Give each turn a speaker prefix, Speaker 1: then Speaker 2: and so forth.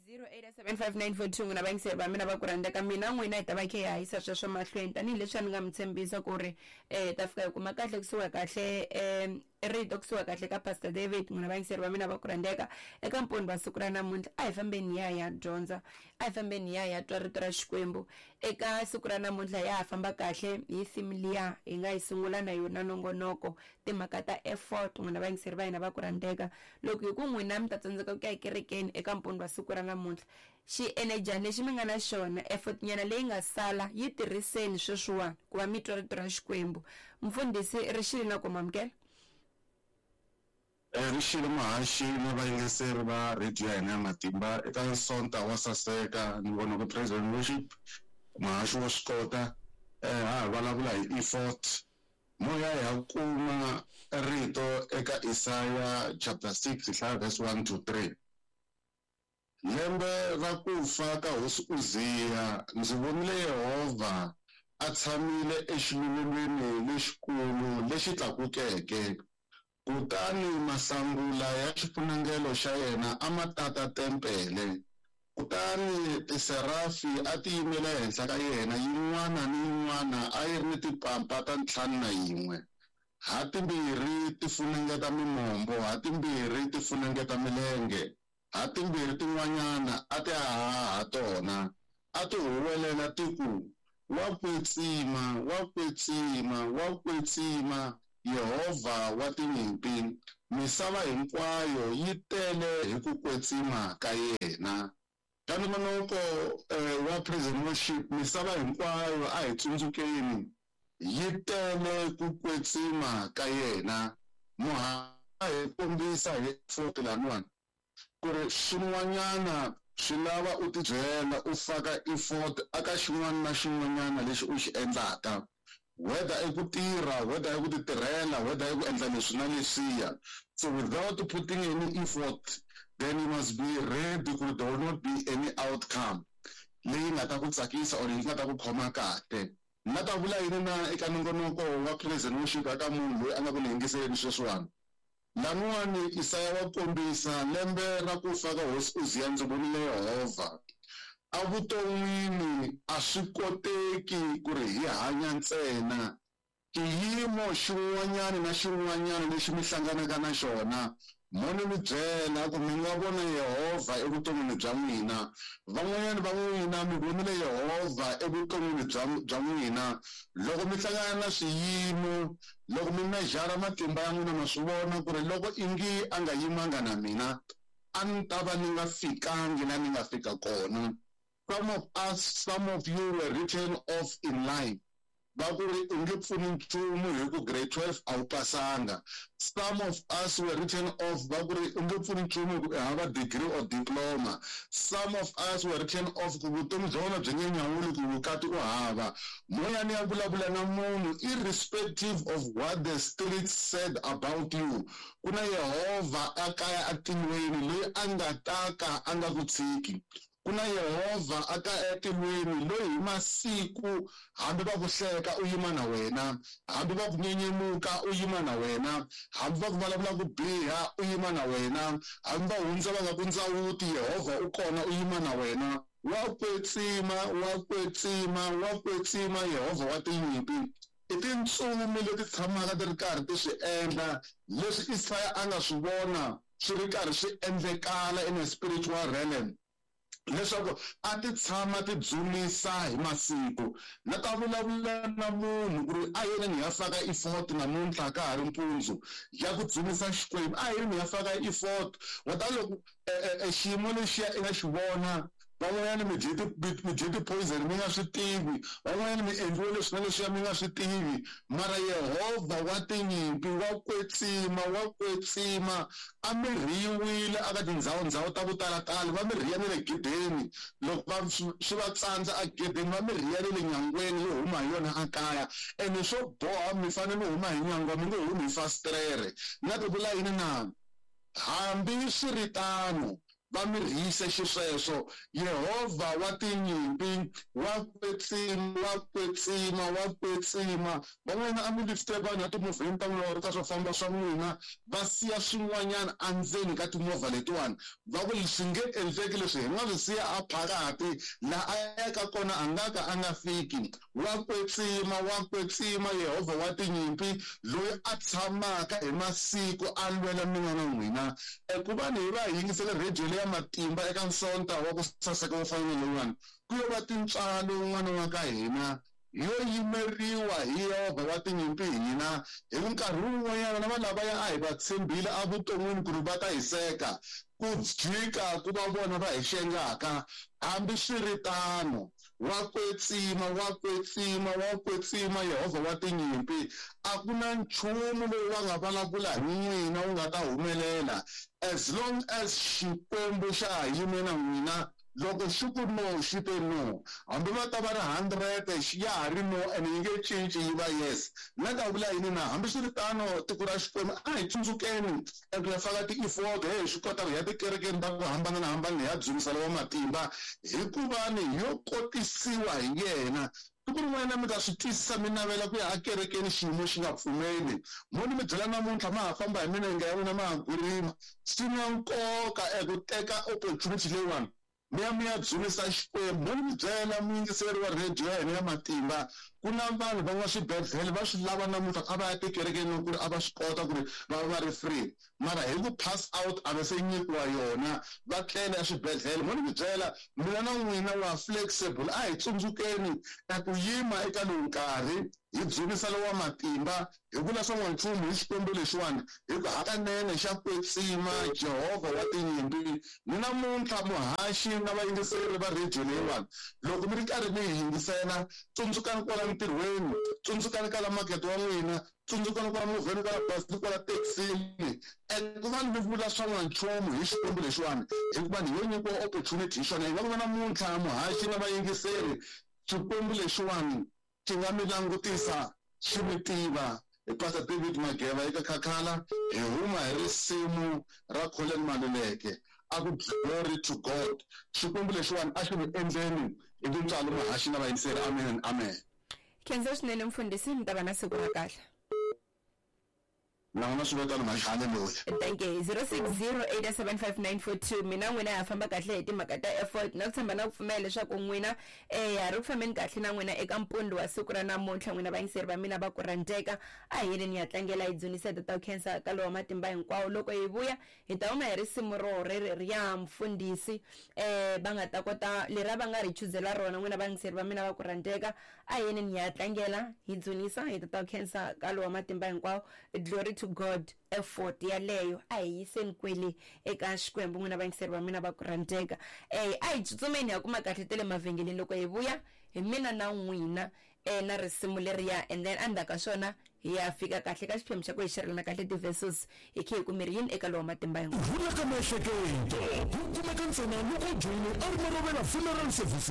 Speaker 1: 0875942 n'wina vayingiseri va mina va ku rhandza ka mina n'wina hi ta va khe hi hahisa sweswo mahlweni tanihileswi a ni nga mi tshembisa ku ri um ta fika hi kuma kahle kusuka kahle um rito kusuka kahle ka Pastor David n'wina vayingiseri va mina va ku rhandzeka eka mponi wa siku ra namuntlha a hi fambeni hi ya hi ya dyondza a hi fambeni hi ya hi ya twa rito ra Xikwembu eka siku ra namuntlha ya ha famba kahle hi theme liya hi nga yi sungula na yona nongonoko timhaka ta effort n'wina vayingiseri va hina va ku rhandzeka loko hi ku n'wina mi ta tsandzeka ku ya ekerekeni eka mponi wa siku ra namuntlha xienedyana lexi mi nga na xona effort nyana leyi nga sala yi tirhiseni sweswiwani ku va mi twa rito ra Xikwembu mfundhisi ri xile na ku mamukela.
Speaker 2: Ri xile muhaxi na vayingiseri va rhediyo ya hina ya matimba eka Sonta wa saseka nongonoko Praise and Worship muhaxi wa swi kota ha ha vulavula hi effort moya hi ya kuma rito eka Isaya chapter 6 hi hlaya verse 1 to 3 Lembe ra ku fa ka hosi Uziya, ndzi vonile Yehovha a tshamile exiluvelweni lexikulu lexi tlakukeke, kutani mahlangula ya xifunengelo xa yena a ma tata tempele. Kutani tiserafi a ti yimele ehenhla ka yena, yin'wana ni yin'wana a yi ri ni timpampa ta 51, ha timbirhi ti funengeta mimombo, ha timbirhi ti funengeta milenge, ha timbirhi tin'wanyana a ti haha ha tona, a ti huwelela ti ku, Wa kwetsima, wa kwetsima, wa kwetsima Yehovha wa tinyimpi, misava hinkwayo yi tele hi ku kwetsima ka yena. Ka nongonoko wa Praise and Worship, misava hinkwayo a hi tsundzukeni yi tele ku kwetsima ka yena. Muhaxi a hi kombisa hi effort laniwani ku ri swin'wanyana swi lava u tibyela u faka effort aka xin'wana na xin'wanyana lexi u xi endlaka, whether i ku tirha, whether i ku ti tirhela, whether i ku endla leswi na leswiya. So without putting any effort, then you must be ready ku ri there will not be any outcome leyi nga ta ku tsakisa or yi nga ta ku khoma kahle. Ni nga ta vula yini na eka nongonoko wa Praise and Worship eka munhu loyi a nga ku ni yingiseleni sweswiwani? Laniwani Isaya wa kombisa, Lembe ra ku fa ka hosi Uziya ndzi vonile Yehovha. Evuton'wini a swi koteki ku ri hi hanya ntsena. Xiyimo xin'wanyana na xin'wanyana lexi mi hlanganaka na xona, mo ni mi byela ku mi nga vona Yehovha evuton'wini bya n'wina. Van'wanyana va n'wina mi vonile Yehovha evuton'wini bya bya n'wina loko mi hlangana na swiyimo, loko mi mejara matimba ya n'wina ma swi vona ku ri loko ingi a nga yimanga na mina a ni ta va ni nga fikangi la ni nga fika kona. Some of us, some of you were written off in life. Va ku ri u nge pfuni nchumu hi ku grade 12 a wu pasanga. Some of us were written off va ku ri u nge pfuni nchumu hi ku i hava degree or diploma. Some of us were written off ku vutomi bya wena byi nge nyawuli ku vukati u hava. Moya ni ya vulavula na munhu irrespective of what the streets said about you, ku na Yehovha a kaya atilweni loyi a nga ta ka a nga ku tshiki. Ku na Yehovha a ka etilweni loyi hi masiku hambi va ku hleka u yima na wena, hambi va ku nyenyemuka u yima na wena, hambi va ku vulavula ku biha u yima na wena, hambi va hundza va nga ku ndzawuti Yehovha u kona u yima na wena. Wa kwetsima, wa kwetsima, wa kwetsima Yehovha wa tinyimpi. I tintsumi leti tshamaka ti ri karhi ti swi endla leswi Isaya a nga swi vona swi ri karhi swi endlekala in a spiritual realm, leswaku a ti tshama ti dzunisa hi masiku. Na ta vulavula na munhu ku ri a yeni ni ya faka effort namuntlha ka ha ri mpundzu ya ku dzunisa Xikwembu, a yeni ni ya faka effort. Wa ta loko xiyimo lexiya i nga xi vona, van'wanyana mi dye ti mi dye ti-poison mi nga swi tivi, van'wanyana mi endliwe leswi na leswiya mi nga swi tivi, mara Yehovha wa tinyimpi wa kwetsima, wa kwetsima, a mi rhiyiwile aka tindzhawu-ndzhawu ta ku tala-tala, va mi rhiya ni le gedeni, loko va swi va tsandza egedeni va mi rhiya ni le nyangweni yo huma hi yona ekaya, ene swo boha mi fanele mi huma hi nyangwa, mi nge humi hi fasitere. Ni nga ti vula yini na? Hambi swi ri tano, Va mi rhiyise xisweswo. Yehovha wa tinyimpi wa kwetsima, wa kwetsima, wa kwetsima. Van'wana a mi lifte vanhu etimovheni ta n'wina or ka swo famba swa n'wina, va siya swin'wanyana endzeni ka timovha letiwani. Va ku swi nge endleki leswi, hi nga swi siya a phakati, laha a yaka kona a nga ka a nga fiki. Wa kwetsima, wa kwetsima, Yehovha wa tinyimpi, loyi a tshamaka hi masiku a lwela mina na n'wina. Ku va ni hi va hi yingisele rhediyo leya matimba eka Nsonta wa ku saseka wo fana na lowuwani, ku yo va tintswalo un'wana wa ka hina yo yimeriwa hi Yehovha wa tinyimpi hina. Hi ku nkarhi wun'wanyana na vanhu lavaya a hi va tshembile evuton'wini ku ri va ta hi seka, ku jika ku va vona va hi xengaka. Hambiswiritano, wa kwetsima, wa kwetsima, wa kwetsima Yehovha wa tinyimpi. A ku na nchumu lowu va nga vulavula hi n'wina wu nga ta humelela, as long as Xikwembu xa ha yime na n'wina. Loko xi ku no, xi te no. Hambi va ta va ri 100, ya ha ri no, ene yi nge cinci yi va yes. Na ta vula yini na? Hambiswiritano, tiko ra Xikwembu, a hi tsundzukeni eku ya faka ti-effort, he hi swi kota ku ya tikerekeni ta ku hambanahambana hi ya dzunisa lowa matimba, hikuva ni yo kotisiwa hi yena. Siku rin'wana mi ta swi twisisa, mi navela ku ya ekerekeni xiyimo xi nga pfumeli. Mo ni mi byela namuntlha, ma ha famba hi milenge ya n'wina ma ha gwirima. Swi na nkoka eku teka opportunity leyiwani mi ya mi ya dzunisa Xikwembu. Mo ni mi byela muyingiseri wa rhediyo ya hina ya matimba, ku na vanhu va nga swibedhlele va swi lava namuntlha a va ya tikerekeni loko ku ri a va swi kota ku ri va va va ri free, mara hi ku pass out a va se nyikiwa yona, va tlele eswibedhlele. Mo ni mi byela mina na n'wina wa flexible, a hi tsundzukeni eku yima eka lowu nkarhi hi dzunisa lowa matimba, hi vula swa n'wanchumu hi Xikwembu lexiwani, hi ku hakanene xa kwetsima, Jehovha wa tinyimpi. Ni namuntlha muhaxi na vayingiseri va rhediyo leyiwani, loko mi ri karhi mi hi yingisela, tsundzukani kwala ntirhweni, tsundzukani ka la makete wa n'wina, tsundzukani kwala movheni, kwala bazini, kwala thekisini, eku va mi vula swa n'wanchumu hi Xikwembu lexiwani, hikuva ni yo nyikiwa opportunity hi xona. Hi nga ku va namuntlha muhaxi na vayingiseri, Xikwembu lexiwani xi nga mi langutisa xi mi tiva. Hi Pastor David Mageva eka Khakhala, hi huma hi risimu ra Collen Maluleke, a ku Glory to God. Xikwembu lexiwani a xi mi endleni hi tintswalo muhaxi na vayingiseri. Amen and amen.
Speaker 1: Khensa swinene mfundhisi, mi ta va na siku ra kahle.
Speaker 2: Na n'wina swi ve tano mhani, haleluya.
Speaker 1: Thank you. 06087594 mina n'wina ha famba kahle hi timhaka ta effort na ku tshemba na ku pfumela leswaku n'wina ha ri ku fambeni kahle na n'wina eka mpundzu wa siku ra namuntlha. N'wina vayingiseri va mina va ku rhandzeka, a hi yeleni ya tlangela hi dzunisa tata khensa ka lowa matimba hinkwawo. Loko hi vuya hi ta huma hi risimu ro reriya mfundhisi va nga ta kota lera va nga ri chuzela rona. N'wina vayingiseri va mina va ku rhandzeka, a hi yeleni ya tlangela hi dzunisa hi tata khensa ka lowa matimba hinkwawo. Glory to God effort yaleyo a hi yiseni kwele eka Xikwembu. N'wina vayingiseri va mina va ku rhandzeka, a hi tsutsumeni ha kuma kahle ta le mavhengeleni. Loko hi vuya hi mina na n'wina na risimu leriya, and then endzhaku ka swona hi ya fika kahle ka xiphemu xa ku hi xerelana kahle ti-verses, hi khe hi ku miri yini eka lowa matimba hinkwawo.
Speaker 3: Rhula ka miehleketo ku kumeka ntsena loko u joyine Armarovela Funeral Services.